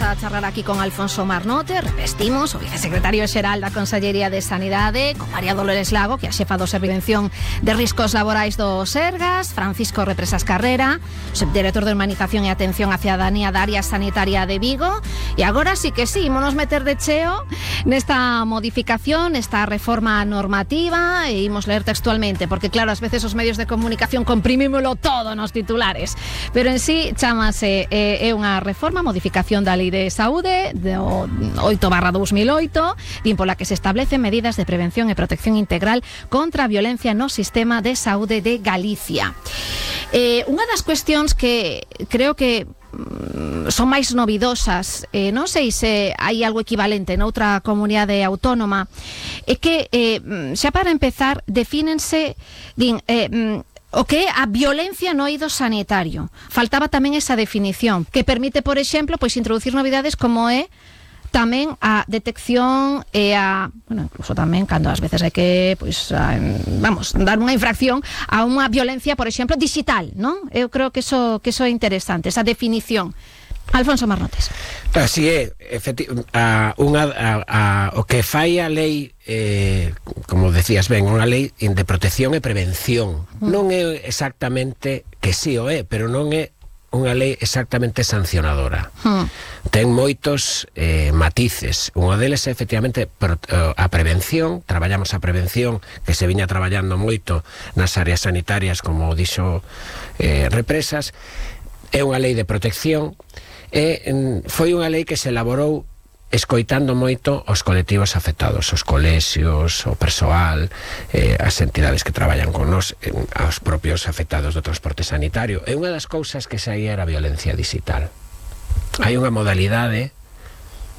Vamos a charlar aquí con Alfonso Marnote, revestimos o vicesecretario xeral da Consellería de Sanidade, con María Dolores Lago, que é a xefa do Servicio de Prevención de Riscos Laborais do Sergas, Francisco Represas Carrera, subdirector de Humanización e Atención á Cidadanía da Área Sanitaria de Vigo. E agora sí que sí, ímonos meter de cheo nesta modificación, nesta reforma normativa, e imos ler textualmente, porque claro, ás veces os medios de comunicación comprimímolo todo nos titulares, pero en sí chamase é unha reforma, modificación da Lei de Saúde do 8/2008, din pola que se establecen medidas de prevención e protección integral contra a violencia no sistema de saúde de Galicia. Unha das cuestións que creo que son máis novidosas, non sei se hai algo equivalente noutra comunidade autónoma, é que xa para empezar defínense, din, o que é a violencia no eido sanitario. Faltaba tamén esa definición, que permite, por exemplo, pois introducir novidades como é tamén a detección e a, bueno, incluso tamén cando ás veces hai que, pois, dar unha infracción a unha violencia, por exemplo, digital, non? Eu creo que eso é interesante, esa definición. Alfonso Marnotes. Así é, o que fai a lei, como decías ben, unha lei de protección e prevención. Non é exactamente, que sí o é, pero non é unha lei exactamente sancionadora. Ten moitos matices. Unha deles é efectivamente a prevención. Traballamos a prevención, que se viña traballando moito nas áreas sanitarias, como dixo Represas. É unha lei de protección. Foi unha lei que se elaborou escoitando moito os colectivos afectados, os colexios, o persoal, as entidades que traballan con nos, aos propios afectados do transporte sanitario. E unha das cousas que saía era a violencia digital. Hai unha modalidade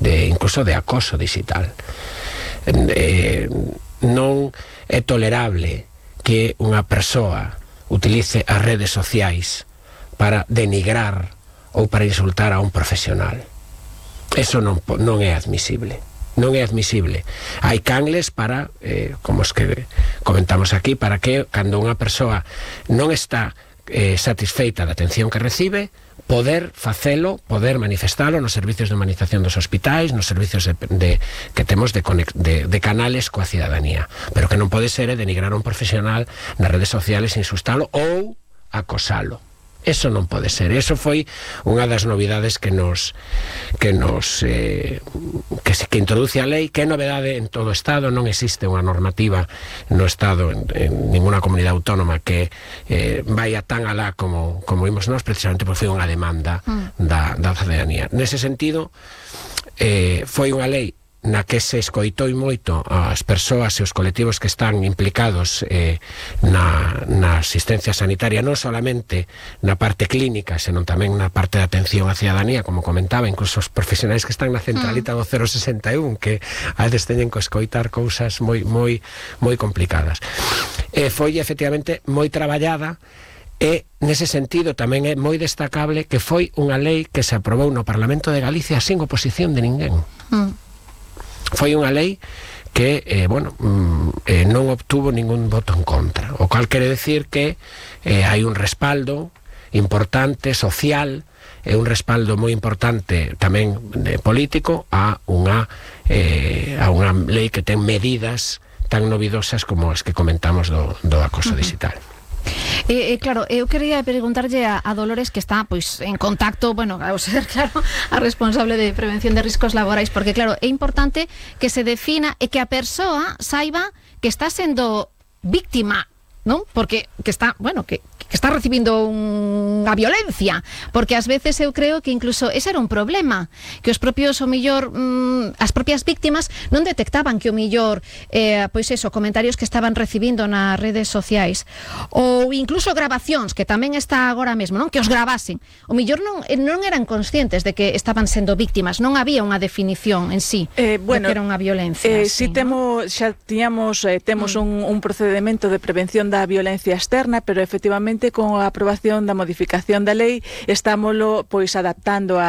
incluso de acoso digital. Non é tolerable que unha persoa utilice as redes sociais para denigrar ou para insultar a un profesional. Eso non é admisible. Non é admisible. Hai canles para, como os que comentamos aquí, para que cando unha persoa non está satisfeita da atención que recibe, poder facelo, poder manifestalo nos servicios de humanización dos hospitais, nos servicios que temos de canales coa cidadanía. Pero que non pode ser denigrar a un profesional nas redes sociales, insultalo ou acosalo. Eso non pode ser. Eso foi unha das novidades que introduce a lei, que é novedade en todo o Estado. Non existe unha normativa no Estado, en ninguna comunidade autónoma, que vaya tan alá como vimos nós, precisamente porque foi unha demanda da cidadanía. Nese sentido, foi unha lei na que se escoitou moito as persoas e os colectivos que están implicados na asistencia sanitaria, non solamente na parte clínica, senón tamén na parte de atención á cidadanía, como comentaba, incluso os profesionais que están na centralita do 061, que a veces teñen que escoitar cousas moi complicadas. Foi efectivamente moi traballada. E, nese sentido, tamén é moi destacable que foi unha lei que se aprobou no Parlamento de Galicia sin oposición de ninguén. Foi unha lei que, non obtuvo ningún voto en contra, o cual quere decir que hai un respaldo importante, social, e un respaldo moi importante tamén político a unha lei que ten medidas tan novidosas como as que comentamos do acoso digital. Claro, eu quería preguntarlle a Dolores, que está pois en contacto, ao ser, claro, a responsable de prevención de riscos laborais, porque claro, é importante que se defina e que a persoa saiba que está sendo víctima, non? Porque que está recibindo unha violencia, porque ás veces eu creo que incluso ese era un problema, que os propios, o millor, as propias víctimas non detectaban que o millor, comentarios que estaban recibindo nas redes sociais, ou incluso grabacións, que tamén está agora mesmo, non? Que os gravasen. O millor non eran conscientes de que estaban sendo víctimas, non había unha definición en sí de que era unha violencia. Si temos un procedimento de prevención da violencia externa, pero efectivamente precisamente con a aprobación da modificación da lei estámoslo pois adaptando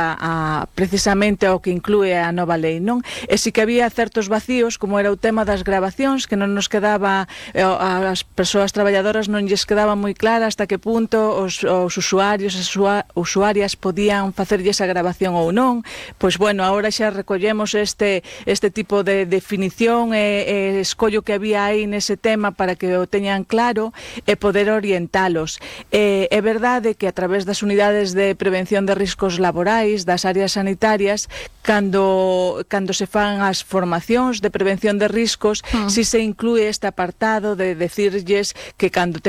precisamente ao que inclúe a nova lei, non? E si que había certos vacíos, como era o tema das grabacións, que non nos quedaba, as persoas traballadoras non lles quedaba moi clara hasta que punto os usuarios, as usuarias podían facerlle esa grabación ou non. Pois bueno, agora xa recollemos este tipo de definición e escollo que había aí nese tema para que o teñan claro e poder orientalos. É verdade que a través das unidades de prevención de riscos laborais das áreas sanitarias, cando se fan as formacións de prevención de riscos, si se inclúe este apartado de decirlles que cando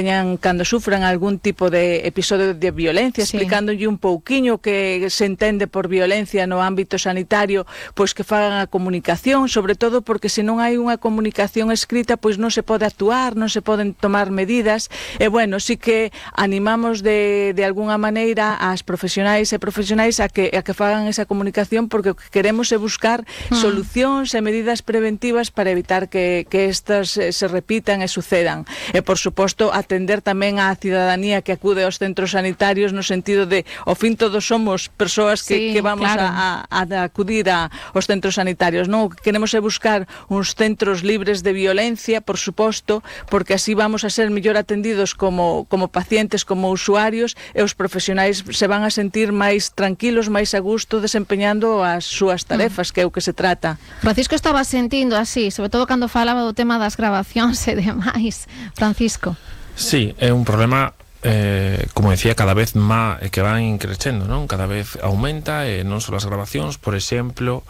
sufran algún tipo de episodio de violencia, explicándolle un pouquiño que se entende por violencia no ámbito sanitario, pois que fagan a comunicación, sobre todo porque se non hai unha comunicación escrita, pois non se pode actuar, non se poden tomar medidas. E bueno, sí que animamos de alguna maneira ás profesionais e profesionais a que fagan esa comunicación, porque o que queremos é buscar solucións e medidas preventivas para evitar que estas se repitan e sucedan. E por suposto atender tamén á cidadanía que acude aos centros sanitarios, no sentido de, ao fin todos somos persoas que vamos a acudir aos centros sanitarios, non? O que queremos é buscar uns centros libres de violencia, por suposto, porque así vamos a ser mellor atendidos como pacientes, como usuarios, e os profesionais se van a sentir máis tranquilos, máis a gusto desempeñando as súas tarefas, que é o que se trata. Francisco estaba sentindo así, sobre todo cando falaba do tema das grabacións e demais. Francisco. Sí, é un problema como decía, cada vez máis que van crecendo, non? Cada vez aumenta, non só as grabacións, por exemplo,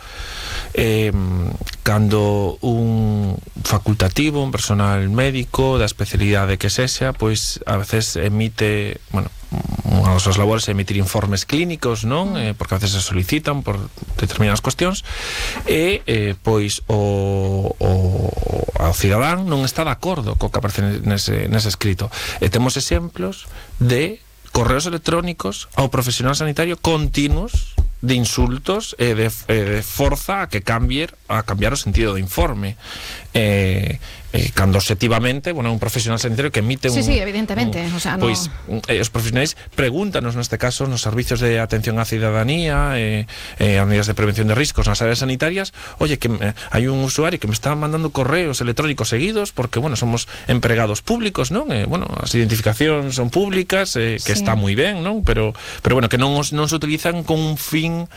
cando un facultativo, un personal médico da especialidade que sexa, pois a veces emite, bueno, unha das súas labores é emitir informes clínicos, non? Porque a veces se solicitan por determinadas cuestións e pois o cidadán non está de acordo co que aparece nese escrito. E temos exemplos de correos electrónicos ao profesional sanitario continuos de insultos e de forza a cambiar o sentido do informe. Cando objetivamente, bueno, un profesional sanitario que emite Sí, evidentemente, o sea, pois, os profesionais pregúntanos neste caso nos servicios de atención á cidadanía as unidades de prevención de riscos nas áreas sanitarias, oye, que hai un usuario que me está mandando correos electrónicos seguidos porque, bueno, somos empregados públicos, non? Bueno, as identificacións son públicas, que está moi ben, non? Pero bueno, que non se utilizan con un fin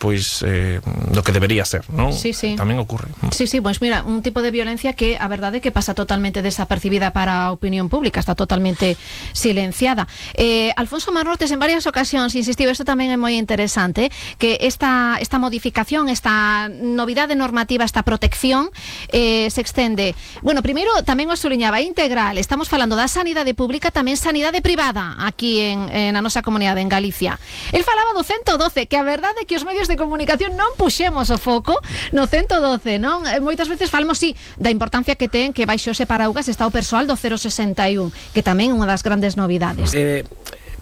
pois do que debería ser, non? Sí. Tamén ocurre. Sí, pois mira, un tipo de violencia que a verdade que pasa totalmente desapercibida para a opinión pública, está totalmente silenciada. Alfonso Marnortes en varias ocasións insistiu, isto tamén é moi interesante, que esta modificación, esta novidade normativa, esta protección se extende, bueno, primeiro tamén o suliñaba, integral, estamos falando da sanidade pública, tamén sanidade privada aquí na nosa comunidade, en Galicia. El falaba do 112, que a verdade é que os medios de comunicación non puxemos o foco no 112, non? Moitas veces falamos, da importancia que ten que baixo ese paraugas está o persoal do 061, que tamén é unha das grandes novidades.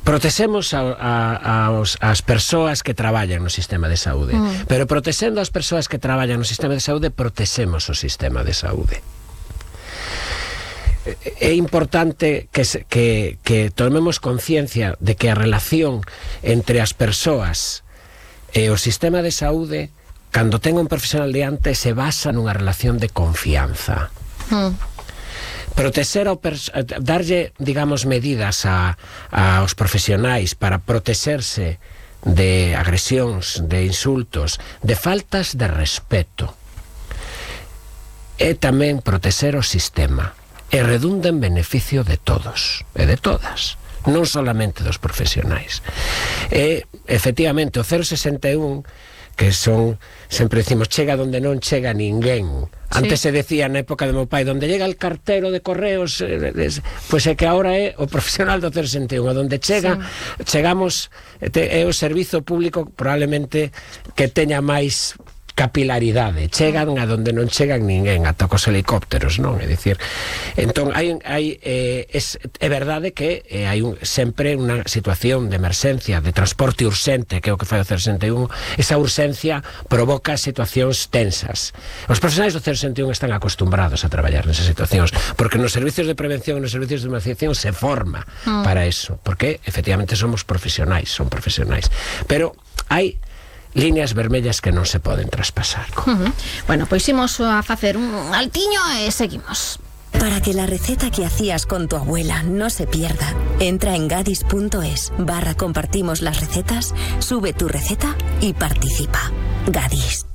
Protexemos as persoas que traballan no sistema de saúde, pero protexendo as persoas que traballan no sistema de saúde, protexemos o sistema de saúde. É importante que tomemos conciencia de que a relación entre as persoas e o sistema de saúde, cando ten un profesional diante, se basa nunha relación de confianza. Protexer darlle, digamos, medidas aos profesionais para protexerse de agresións, de insultos, de faltas de respeto, e tamén protexer o sistema, e redunda en beneficio de todos e de todas, non solamente dos profesionais. E efectivamente o 061, que son, sempre decimos, chega donde non chega ninguén. Antes se decía na época de meu pai, donde llega el cartero de correos, pois é que agora é o profesional do 061, donde chegamos, é o servizo público probablemente que teña máis capilaridade, chegan a donde non chegan ninguén, ata cos helicópteros, non? É dicir, entón é verdade que hai sempre unha situación de emerxencia, de transporte urxente, que é o que fai o 061. Esa urxencia provoca situacións tensas. Os profesionais do 061 están acostumbrados a traballar nesas situacións, porque nos servicios de prevención e nos servicios de emerxencia se forma para eso, porque efectivamente somos profesionais, son profesionais. Pero hai líneas vermellas que non se poden traspasar. Bueno, pois imos a facer un altiño e seguimos. Para que la receta que hacías con tu abuela no se pierda, entra en gadis.es/compartimos las recetas, sube tu receta y participa. Gadis.